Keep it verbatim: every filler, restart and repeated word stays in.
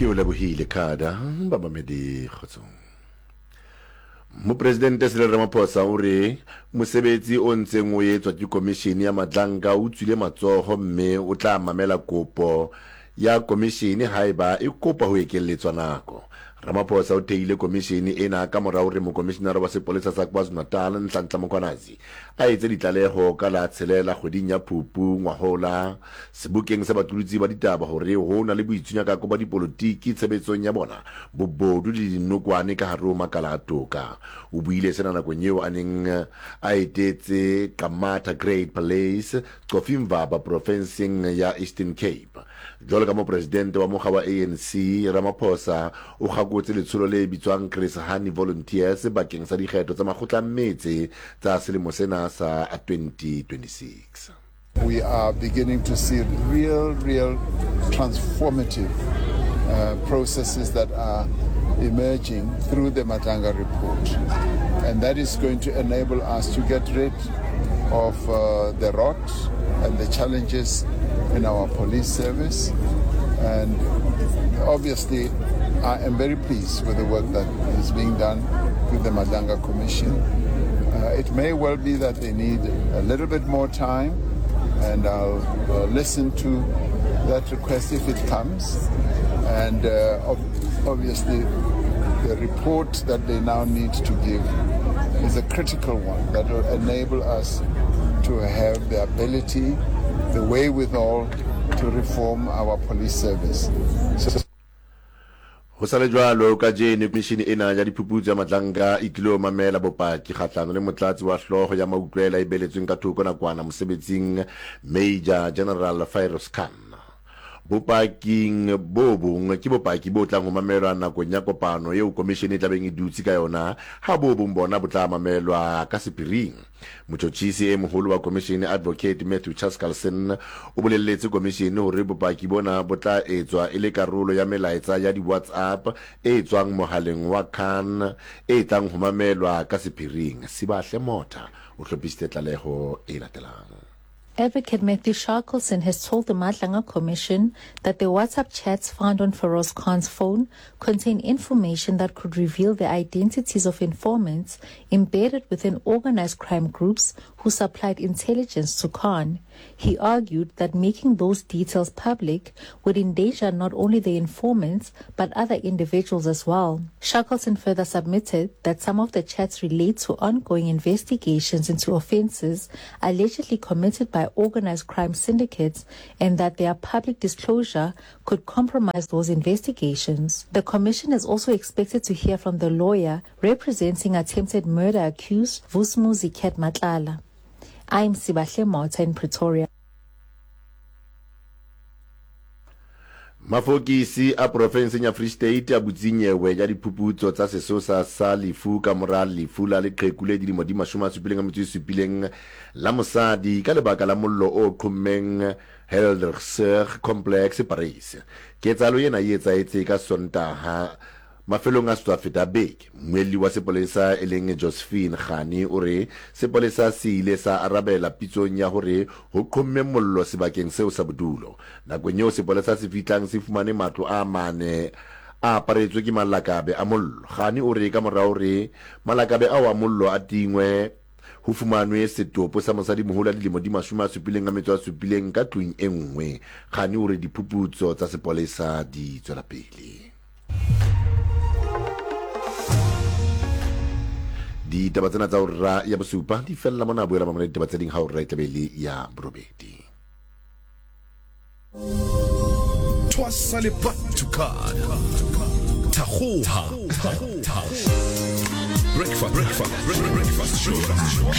Ke o lebohile Kada bamamedi kgotsong. Mopresidente Cyril Ramaphosa o re mosebetsi o ntseng o etswa ke komishene ya Madlanga o tswile matsoho mme o tla mamela kopo ya komishene haeba e kopa ho ekelletswa nako. Ramaphosa o thehile komishene ena ka mora hore mokomishinara wa sepolesa sa KwaZulu-Natal Nhlanhla Mkhwanazi a etse ditlaleho ka la tshelela kgweding ya Phupu ngwahola sebokeng sa baqolotsi ba ditaba hore ho na le boitshunyakako ba dipolotiki tshebetsong ya bona, bobodu le dinokwane ka hare ho makala a toka. O buile sena nakong eo a neng a etetse Qamata Great Palace, Cofimvaba profenseng ya Eastern Cape. Jwalo ka mopresidente wa mokga wa A N C, Ramaphosa o kgakotse letsholo le bitswang Chris Hani Volunteers bakeng sa dikgetho tsa makgotla a metse tsa selemo sena sa twenty twenty-six. We are beginning to see real, real transformative, uh, processes that are emerging through the Madlanga report. And that is going to enable us to get rid of, uh, the rot and the challenges in our police service. And obviously, I am very pleased with the work that is being done with the Madlanga Commission. Uh, it may well be that they need a little bit more time, and I'll, uh, listen to that request if it comes. And, uh, ob-, obviously, the report that they now need to give is a critical one that will enable us to have the ability, the wherewithal to reform our police service. So, Ho sa le jwalo, kajeno komishene ena ya diphuputso ya Madlanga e tlilo mamela bopaki kgahlano le motlatsi wa hlooho ya mautlwela e beletsweng ka thoko nakwana mosebetsing Major General Firoz Khan. Bopaking bo bong ke bopaki bo tlang ho mamelwa nakong ya kopano eo komishene e tlabeng e dutse ka yona, ha bo bong bona bo tla mamelwa ka sephiring. Motjhotjhisi e moholo wa komishene Advocate Matthew Chaskalson o bolelletse komishene hore bopaki bona bo tla etswa e le karolo ya melaetsa ya di-WhatsApp e tswang mohaleng wa Khan e tlang ho mamelwa ka sephiring. Sibahle Motha o hlophisitse tlaleho e latelang. Advocate Matthew Shackleton has told the Madlanga Commission that the WhatsApp chats found on Feroz Khan's phone contain information that could reveal the identities of informants embedded within organized crime groups who supplied intelligence to Khan. He argued that making those details public would endanger not only the informants but other individuals as well. Shackleton further submitted that some of the chats relate to ongoing investigations into offenses allegedly committed by organized crime syndicates and that their public disclosure could compromise those investigations. The commission is also expected to hear from the lawyer representing attempted murder accused Vusumuzi Cat Matlala. I'm Sibahle Motha in Pretoria. Mafokisi a profenseng ya Free State a butse nyewe ya diphuputso tsa sesosa sa lefu ka mora lefu la leqheku le dilemo di mashome a supileng a metso e supileng la mosadi ka lebaka la mollo o qhommeng Helderberg Complex Paris. Ketsahalo ena e etsahetse ka Sontaha mafelong a setswa feta beke. Mmuelli wa sepolesa e leng Josephine Khani o re sepolesa se ile sa arabela pitsong ya hore ho qhomme mollo sebakeng seo sa bodulo. Nakong eo sepolesa se fihlang se fumane matlo a mane a aparetswe ke malakabe a mollo. Khani o re ka mora hore malakabe ao a mollo a tingwe ho fumanwe setopo sa mosadimoholo a dilemo di mashome a supileng a metso a supileng ka tlung e nngwe. Khani o re diphuputso tsa sepolesa di tswela pele. Ditaba tsena tsa hora ya bosupa di fella mona, boela mamela ditaba tse ding ha hora e tla be le ya borobedi. Twasa le Batukad. Thagoha. Breakfast, breakfast, breakfast show.